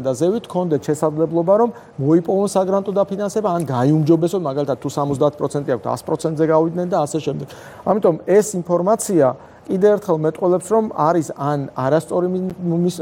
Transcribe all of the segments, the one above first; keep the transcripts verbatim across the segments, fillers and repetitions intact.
და ზევით გქონდეთ შესაძლებლობა რომ მოიპოვონ საგრანტო დაფინანსება ან გაიუმჯობესონ მაგალითად თუ სამოცდაათ პროცენტი აქვთ ას პროცენტზე გავიდნენ და ასე შემდეგ. ამიტომ ეს ინფორმაცია კიდევ ერთხელ მეტყველებს რომ არის ან არასწორი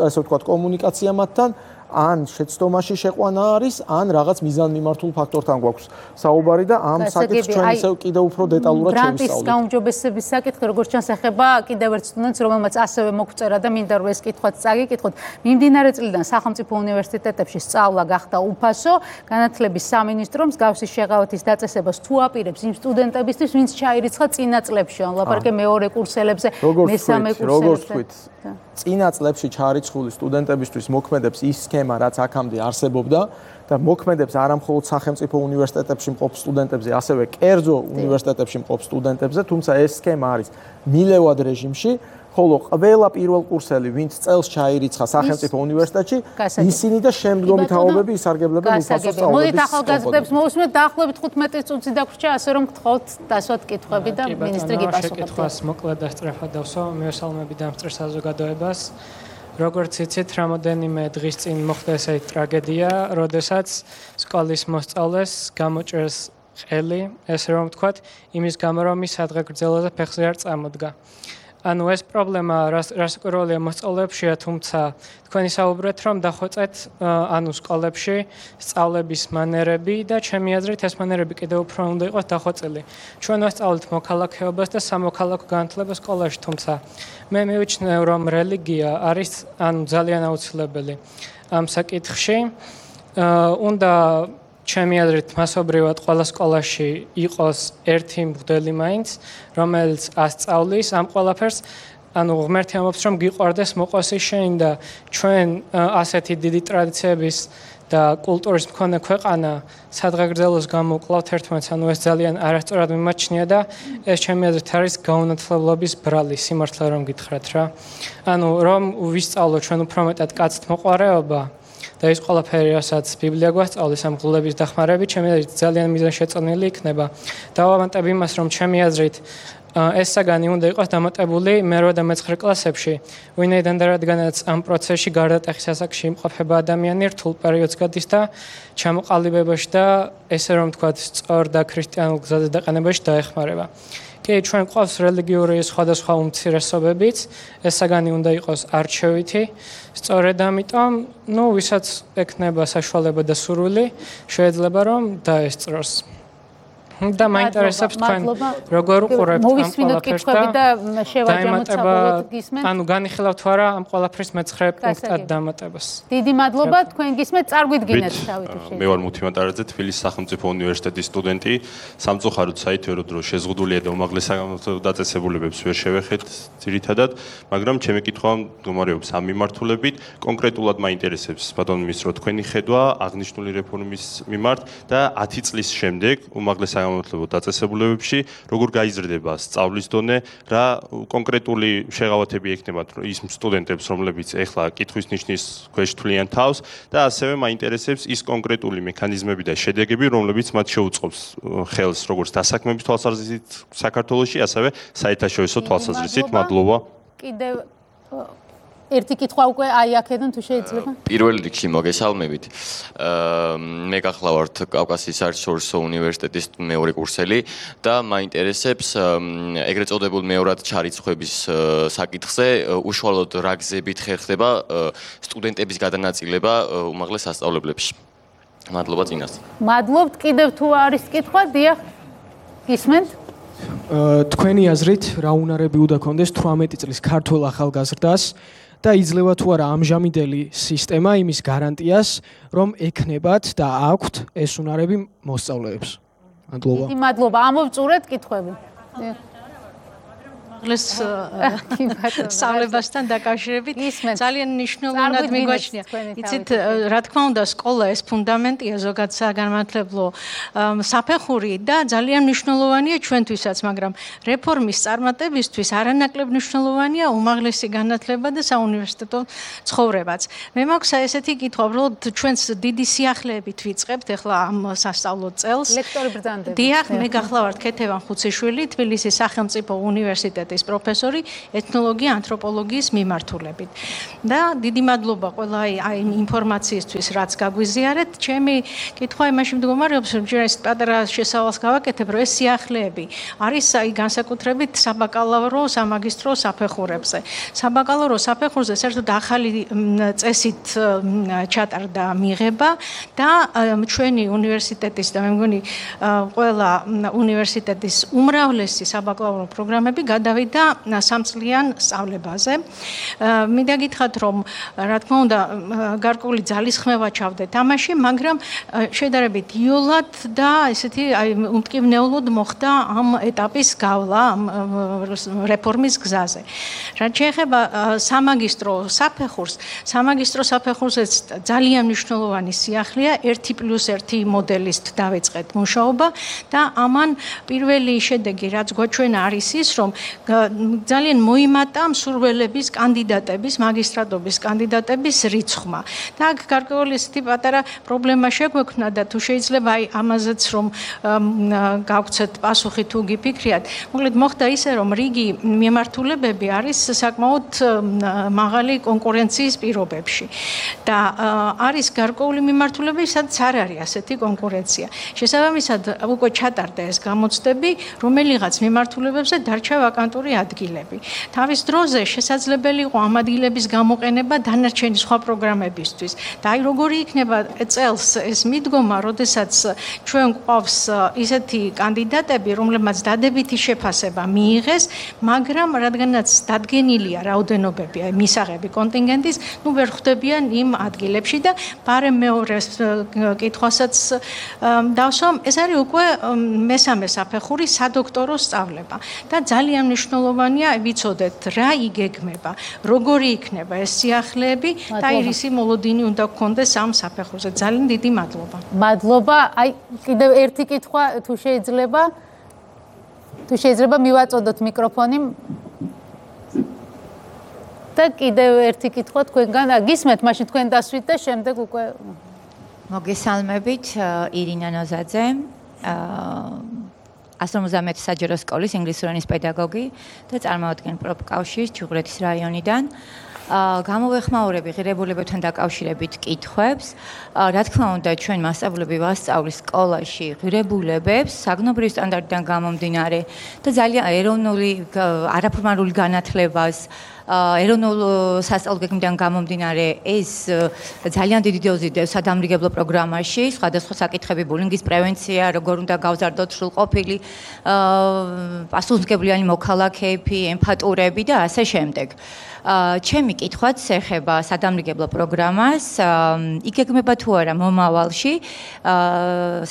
ასე ვთქვათ კომუნიკაცია მათთან ან შეცდომაში შეყვანა არის ან რაღაც მიზანმიმართულ ფაქტორთან გვაქვს საუბარი და ამ საკითხს ჩვენ ისევ კიდევ უფრო დეტალურად შევისწავლეთ. გრანტის გაუმჯობესების საკითხი როგორც ჩანს ეხება კიდევ ერთ სტუდენტს რომელმაც ასევე მოგწერა და მინდა რომ ეს კითხვაც წაგიკითხოთ. მიმდინარე წლიდან სახელმწიფო უნივერსიტეტებში სწავლა გახდა უფასო, განათლების სამინისტრო მსგავსი შეღავათის დაწესებას თუ აპირებს იმ სტუდენტებისთვის ვინც ჩაირიცხა წინა წლებში, ან ლაპარაკე მეორე კურსელებზე, მესამე კურსელებზე. წინა წლებში ჩარიცხული სტუდენტებისთვის მოქმედებს ის სქემა, რაც აქამდე არსებობდა და მოქმედებს არამხოლოდ სახელმწიფო უნივერსიტეტებში მყოფ სტუდენტებზე, ასევე კერძო უნივერსიტეტებში მყოფ სტუდენტებზე, თუმცა ეს სქემა არის მილევად რეჟიმში, ხოლო ყველა პირველ კურსელი, ვინც წელს ჩაირიცხა სახელმწიფო უნივერსიტეტში, ისინი და შემდგომი თაობები ისარგებლებენ უფასო სწავლების. მოდით ახალგაზრდებს მოვუსმენთ დაახლოებით თხუთმეტი წუთი დაგვრჩა, ასე რომ გთხოვთ დასვათ კითხვები და მინისტრი გიპასუხებთ. კითხვას მოკლედ და სწრაფად დავსვა, მივესალმები დამსწრე საზოგადოებას. როგორც იცით, რამოდენიმე დღის წინ მოხდა ესეთი ტრაგედია, როდესაც სკოლის მოსწავლეს გამოჭრეს ყელი, ესე რომ ვთქვათ, იმის გამო რომ ის სადღეგრძელოზე ფეხზე არ წამოდგა. ანუ ეს პრობლემა რასაკვირველია მოსწავლეებშია, თუმცა თქვენი საუბრეთ, რომ დახვეწეთ ანუ სკოლებში სწავლების მანერები და ჩემი აზრით ეს მანერები კიდევ უფრო უნდა იყოს დახვეწილი. ჩვენ ვასწავლეთ მოქალაქეობას და სამოქალაქო განათლებას სკოლაში, თუმცა მე მივიჩნევ, რომ რელიგია არის ანუ ძალიან აუცილებელი ამ საკითხში. უნდა ჩემი აზრით მასობრივად ყველა სკოლაში იყოს ერთი მღვდელი მაინც, რომელიც ასწავლის ამ ყველაფერს, ანუ ღმერთი ამბობს, რომ გიყვარდეს მოყვასი შენ და ჩვენ ასეთი დიდი ტრადიციების და კულტურის მქონე ქვეყანა სადღეგრძელოს გამოვკლავთ ერთმანეთს, ანუ ეს ძალიან არასწორად მიმაჩნია და ეს ჩემი აზრით არის გაუნათლებლობის ბრალი, სიმართლე რომ გითხრათ რა. ანუ რომ ვისწავლოთ ჩვენ უფრო მეტად კაცთ მოყვარეობა და ის ყველაფერი, რასაც ბიბლია გვასწავლის ამ ღლების დახმარებით, ჩემი აზრით ძალიან მიზანშეწონილი იქნება. დავამატებ იმას, რომ ჩემი აზრით ეს საგანი უნდა იყოს დამატებული მერვე და მეცხრე კლასებში, ვინაიდან და რადგანაც ამ პროცესში გარდატეხის ასაკში იმყოფება ადამიანი რთულ პერიოდს გადის და ჩამოყალიბებაში და ესე რომ ვთქვათ, სწორ და ქრისტიანულ გზაზე დაყენებაში დაეხმარება. კი, ჩვენ გვყავს რელიგიური სხვადასხვა უმცირესობებიც, ეს საგანი უნდა იყოს არჩევითი, სწორედ ამიტომ, ნუ ვისაც ექნება საშუალება და სურვილი, შეიძლება რომ დაესწროს. და მაინტერესებს თქვენ როგორ უყურებთ ამ ყველაფერს და შევაჯამოთ გისმენთ. ანუ განიხილავთ თუ არა ამ ყველაფრის მეცხრე პუნქტად დამატებას. დიდი მადლობა, თქვენ გისმენთ, წარგვიდგინეთ თავით შეიძლება. მე ვარ მუთი მატარაძე, თბილისის სახელმწიფო უნივერსიტეტის სტუდენტი. სამწუხაროდ საითვერო დრო შეზღუდულია და უმაღლეს საგანმანათლებლო დაწესებულებებს ვერ შევეხეთ ძირითადად, მაგრამ ჩემი კითხვა მდგომარეობს ამ მიმართულებით. კონკრეტულად მაინტერესებს ბატონ მინისტრო თქვენი ხედვა აღნიშნული რეფორმის მიმართ და ათი წლის შემდეგ უმაღლეს საგანმანათლებლო დაწესებულებებში როგორ გაიზრდება სწავლის დონე, რა კონკრეტული შეღავათები ექნებათ ის სტუდენტებს, რომლებიც ეხლა კითხვის ნიშნის ქვეშ თვლიან თავს და ასევე მაინტერესებს ის კონკრეტული მექანიზმები და შედეგები, რომლებიც მათ შეუწყობს ხელს როგორც დასაქმების თვალსაზრისით საქართველოში, ასევე საერთაშორისო თვალსაზრისით. მადლობა. კიდევ ერთი კითხვა უკვე აი აქედან თუ შეიძლება? პირველ რიგში მოგესალმებით. მე გახლავართ კავკასიის საერთაშორისო უნივერსიტეტის მეორე კურსელი და მაინტერესებს ეგრეთ წოდებულ მეორად ჩარიცხვების საკითხზე უშუალოდ რა გზებით ხერხდება სტუდენტების გადანაწილება უმაღლეს სასწავლებლებში. მადლობა წინას. მადლობთ. კიდევ თუ არის კითხვა, დიახ. გისმენთ? თქვენი აზრით რა უნარები უნდა ქონდეს თვრამეტი წლის ქართველ ახალგაზრდას და იძლევა თუ არა ამჟამინდელი სისტემა იმის გარანტიას, რომ ექნებათ და აქვთ ეს უნარები მოსწავლეებს. მადლობა. დიდი მადლობა. ამოვწურეთ კითხვები. ეს სწავლებასთან დაკავშირებით ძალიან მნიშვნელოვნად მიგვაჩნია. იცით, რა თქმა უნდა, სკოლა ეს ფუნდამენტია ზოგადად საგანმანათლებლო საფეხური და ძალიან მნიშვნელოვანია ჩვენთვისაც, მაგრამ რეფორმის წარმატებისთვის არანაკლებ მნიშვნელოვანია უმაღლესი განათლება და საუნივერსიტეტო ცხოვრებაც. მე მაქვს ესეთი კითხვა, უბრალოდ ჩვენს დიდი სიახლეებით ვიწყებთ ახლა ამ სასწავლო წელს. ლექტორი ბრძანდები. დიახ, მე გახლავართ ქეთევან ხუციშვილი, თბილისის სახელმწიფო უნივერსიტეტის უნივერსიტეტის პროფესორი ეთნოლოგია ანთროპოლოგიის მიმართულებით. და დიდი მადლობა ყველა აი ინფორმაციისთვის, რაც გაგვიზიარეთ. ჩემი კითხვა იმაში მდგომარეობს, რომ ჯერ ეს პატარა შესავალს გავაკეთებ, რომ ეს სიახლეები არის აი განსაკუთრებით საბაკალავრო, სამაგისტრო საფეხურებზე. საბაკალავრო საფეხურზე საერთოდ ახალი წესით ჩატარდა მიღება და ჩვენი უნივერსიტეტის და მე მგონი ყველა უნივერსიტეტის უმრავლესი საბაკალავრო პროგრამები გადავიდა სამწლიან სწავლებაზე. მინდა გითხრათ, რომ რა თქმა უნდა გარკვეული ძალისხმევა ჩავდეთ ამაში, მაგრამ შედარებით იოლად და ესეთი აი უმტკივნეულოდ მოხდა ამ ეტაპის გავლა ამ რეფორმის გზაზე. რაც შეეხება სამაგისტრო საფეხურს, სამაგისტრო საფეხურზეც ძალიან მნიშვნელოვანი სიახლეა ერთი პლუს ერთი მოდელით დავიწყეთ მუშაობა და ამან პირველი შედეგი რაც გვაჩვენა არის ის, რომ ძალიან მოიმატა მსურველების კანდიდატების, მაგისტრატობის კანდიდატების რიცხვმა. და აქ გარკვეული ესეთი პატარა პრობლემა შეგვექმნა და თუ შეიძლება აი ამაზეც რომ გავცეთ პასუხი თუ გიფიქრიათ. მოკლედ მოხდა ისე, რომ რიგი მიმართულებები არის საკმაოდ მაღალი კონკურენციის პირობებში. და არის გარკვეული მიმართულებები, სადაც არ არის ასეთი კონკურენცია. შესაბამისად, უკვე ჩატარდა ეს გამოცდები, რომელიღაც მიმართულებებზე დარჩა ვაკანტური ადგილები. თავის დროზე შესაძლებელი იყო ამ ადგილების გამოყენება დანარჩენი სხვა პროგრამებისთვის. და აი როგორი იქნება წელს ეს მიდგომა, როდესაც ჩვენ გვყავს ისეთი კანდიდატები, რომლებმაც დადებითი შეფასება მიიღეს, მაგრამ რადგანაც დადგენილია რაოდენობები, აი მისაღები კონტინგენტის, ნუ ვერ ხვდებიან იმ ადგილებში და პარემ მეორე კითხვასაც დავსვამ, ეს არის უკვე მესამე საფეხური სადოქტორო სწავლება და ძალიან მნიშვნელოვანია ვიცოდეთ რა იგეგმება, როგორი იქნება ეს სიახლეები და ირისი მოლოდინი უნდა გქონდეს ამ საფეხურზე. ძალიან დიდი მადლობა. მადლობა. აი კიდევ ერთი კითხვა თუ შეიძლება თუ შეიძლება მივაწოდოთ მიკროფონი და კიდევ ერთი კითხვა თქვენგან გისმენთ, მაშინ თქვენ დასვით და შემდეგ უკვე მოგესალმებით, ირინა ნოზაძე, ასრე ოცდამეტი საჯარო სკოლის ინგლისური ენის პედაგოგი და წარმოვადგენ პროფკავშირის ჩუღურეთის რაიონიდან. გამოვეხმაურები ღირებულებებთან დაკავშირებით კითხვებს. რა თქმა უნდა, ჩვენ მასწავლებლები ვასწავლის სკოლაში ღირებულებებს საგნობრივი სტანდარტიდან გამომდინარე და ძალიან ეროვნული არაფორმალური განათლებას ეროვნულ სასწავლო გეგმიდან გამომდინარე ეს ძალიან დიდი დოზი დევს სადამრიგებლო პროგრამაში, სხვადასხვა საკითხები, ბულინგის პრევენცია, როგორ უნდა გავზარდოთ სრულყოფილი პასუხისმგებლიანი მოქალაქეები, ემპათურები და ასე შემდეგ. ჩემი კითხვაც ეხება სადამრიგებლო პროგრამას, იგეგმება თუ არა მომავალში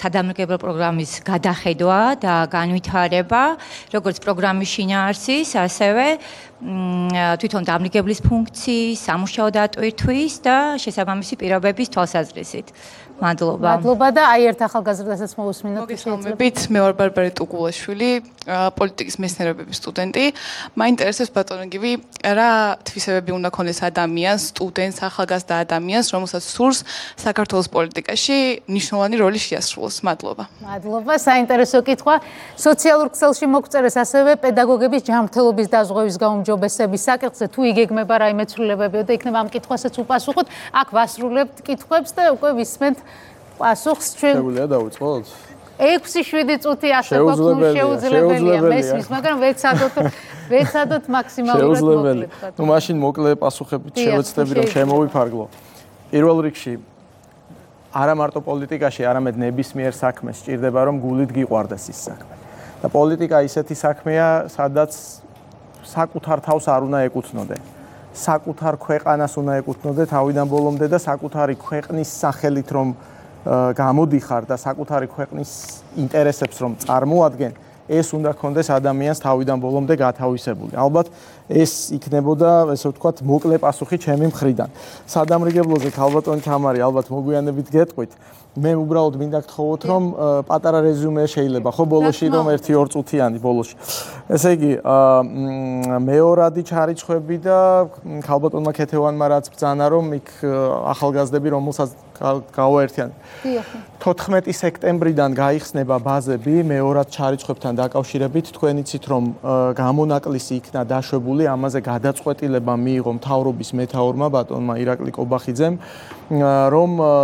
სადამრიგებლო პროგრამის გადახედვა და განვითარება, როგორც პროგრამის შინაარსის, ასევე თვითონ დამრიგებლის ფუნქციის, სამუშაო დატვირთვის და შესაბამისი პირობების თვალსაზრისით. მადლობა. მადლობა და აი ერთ ახალგაზრდასაც მოусმინოთ. მოგესალმებით, მე ვარ ბარბარე ტუკულაშვილი, პოლიტიკის მეცნიერებების სტუდენტი. მაინტერესებს ბატონო გივი, რა თვისებები უნდა ქონდეს ადამიანს, სტუდენტს, ახალგაზრდა ადამიანს, რომელსაც სურს საქართველოს პოლიტიკაში მნიშვნელოვანი როლი შეასრულოს. მადლობა. მადლობა, საინტერესო კითხვა. სოციალურ ქსელში მოგწერეს ასევე პედაგოგების ჯანმრთელობის დაზღვევის გაუმჯობესების საკითხზე, თუ იგეგმება რაიმე ცვლილებები და იქნება ამ კითხვასაც უპასუხოთ. აქ ვასრულებთ კითხვებს და უკვე ვისმენთ პასუხს ჩვენ. შეგვიძლია დავიწყოთ? ექვსი შვიდი წუთი ასე გვაქვს, შეუძლებელია მესმის, მაგრამ ვეცადოთ ვეცადოთ მაქსიმალურად მოკლედ. ნუ მაშინ მოკლე პასუხებით შევეცდები რომ შემოვიფარგლო. პირველ რიგში არა მარტო პოლიტიკაში, არამედ ნებისმიერ საქმეს სჭირდება რომ გულით გიყვარდეს ის საქმე. და პოლიტიკა ისეთი საქმეა, სადაც საკუთარ თავს არ უნდა ეკუთვნოდე. საკუთარ ქვეყანას უნდა ეკუთვნოდე თავიდან ბოლომდე და საკუთარი ქვეყნის სახელით რომ გამოდიხარ და საკუთარი ქვეყნის ინტერესებს რომ წარმოადგენ, ეს უნდა გქონდეს ადამიანს თავიდან ბოლომდე გათავისებული. ალბათ ეს იქნებოდა, ესე ვთქვათ, მოკლე პასუხი ჩემი მხრიდან. სადამრიგებლოზე ქალბატონი თამარი, ალბათ მოგვიანებით გეტყვით. მე უბრალოდ მინდა გთხოვოთ, რომ პატარა რეზიუმე შეიძლება, ხო, ბოლოში რომ ერთი ორ წუთიანი ბოლოში. ესე იგი, მეორადი ჩარიცხვები და ქალბატონმა ქეთევანმა რაც ბრძანა, რომ იქ ახალგაზრდები, რომელსაც გავაერთიან. თოთხმეტი სექტემბრიდან გაიხსნება ბაზები მეორად ჩარიცხვებთან დაკავშირებით თქვენ იცით რომ გამონაკლისი იქნა დაშვებული, ამაზე გადაწყვეტილება მიიღო მთავრობის მეთაურმა ბატონმა ირაკლი კობახიძემ, რომ